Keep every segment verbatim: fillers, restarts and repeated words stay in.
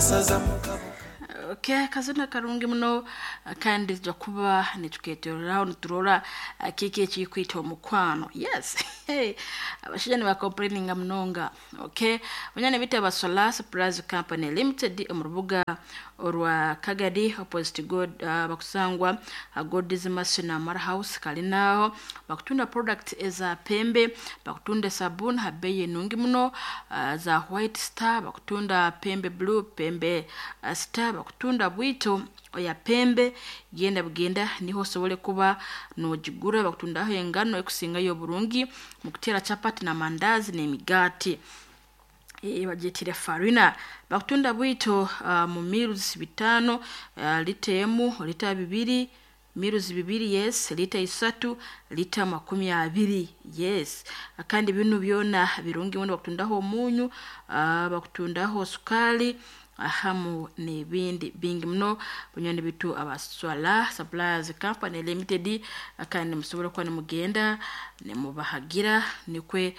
Amasaza mu kabuga. Okay, akazina karungi muno, kandi tujja kuba nituketororaho niturora kiki ekikwita omukwano. Yes, hey, abashaija nibakomplaininga munonga. Okay, banyana bitu aba Solar Supplies Company Limited omu rubuga orwa Kagadi opposite God, uh, bakusangwa uh, God's Mercy na Mara House kalinaho bakutunda product eza pembe, bakutunda sabuni ha bei enungi muno, uh, za White Star, bakutunda Pembe Blue, Pembe uh, Star, bakutunda bwito oya pembe. Genda bugenda niho osobole kuba nogigura. Bakutundaho engano ekusingayo oburungi mukutera chapati na mandazi n'emigaati, e, bagyetire farina. Bakutunda bwito uh, mu mills bitaano, uh, lita emu, lita bibiri, mills bibiri, yes, lita isatu, lita makumi abiri, yes. Kandi binu byona birungi muno. Bakutundaho omunyu, uh, bakutundaho sukali hamu n'ebindi bingi muno. Bunywani bitu aba Swala Suppliers Company Limited, kandi musobora kuba nimugenda nimubahagira nikwe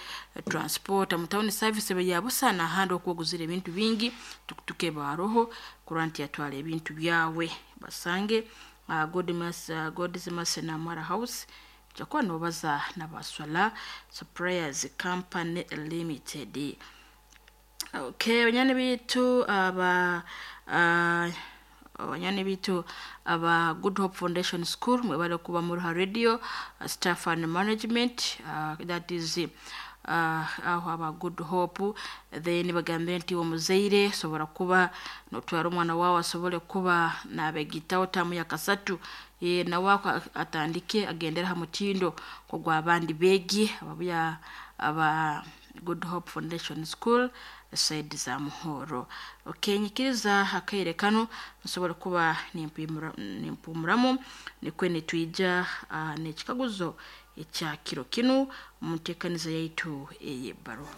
transport mu town service beyabusa n'ahandi okwoguzira ebintu bingi, tukutuke baroho kurora nti yatwara ebintu byawe. Basange uh, God's, uh, God's Mercy na Mara House, jakuba nobaza n'aba Suppliers Company Limited. Okay, banyani bitu aba uh, abanyani bitu aba Good Hope Foundation School, mwebale kuba muruha radio, uh, staff and management, uh, that is uh, aho aba Good Hope. Then bagambire nti omuzaire sobora kuba notwara omwana wawe asobole kuba nabegitaho tamu ya kasatu, e, nawe atandike agendera ha mutindo kogw'abandi beegi ababuya aba Good Hope Foundation School side za Muhoro. Okay, nyikiriza akaire kano nsobora kuba nimpumuramu nikwe nitwija uh, n'ekikaguzo ekya kiro kinu mu nteekaniza yaitu ey'ebbaruha.